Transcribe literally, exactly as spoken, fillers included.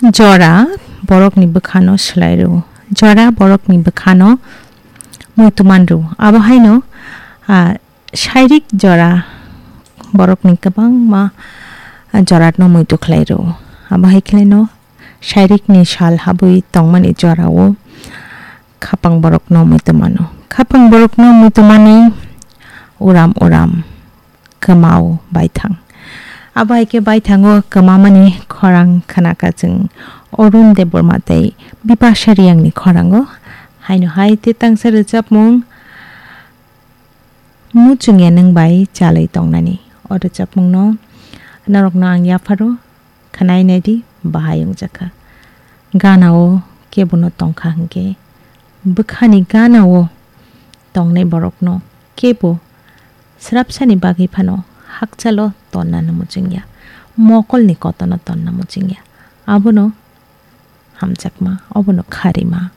Jora borokni bwkhano swlai rw, jora borokni bwkhano muitu man rw. Abo haino, ah, shairik jora borokni kwbangma, ah, jorano muitu khlai rw. Abo hai khlaino shairikni sal habwi tongmani jorao khapang borokno muitu mano. Khapang borokno muitu mani uram uram kwmao baithang. Abo hai khe baithango kwmamani khorang khnakha chwng Arun Debbarma tei Bipasha Riyangni khorango. Haino hai tei tangsa rwchapmung Muchungya Nwng Bai Chalwi Tongnani. O rwchapmungno norokno ang yapharo khwnai naidi, bahai wngjakha. Ganao kebono tongkha hwnkhe, bwkhani ganao tongnai borokno kebo srapsani bagwi phano hakchalo tonnano muchungya, mokolni kotorno tonna muchungya. Abono hamjakma, obono kharima.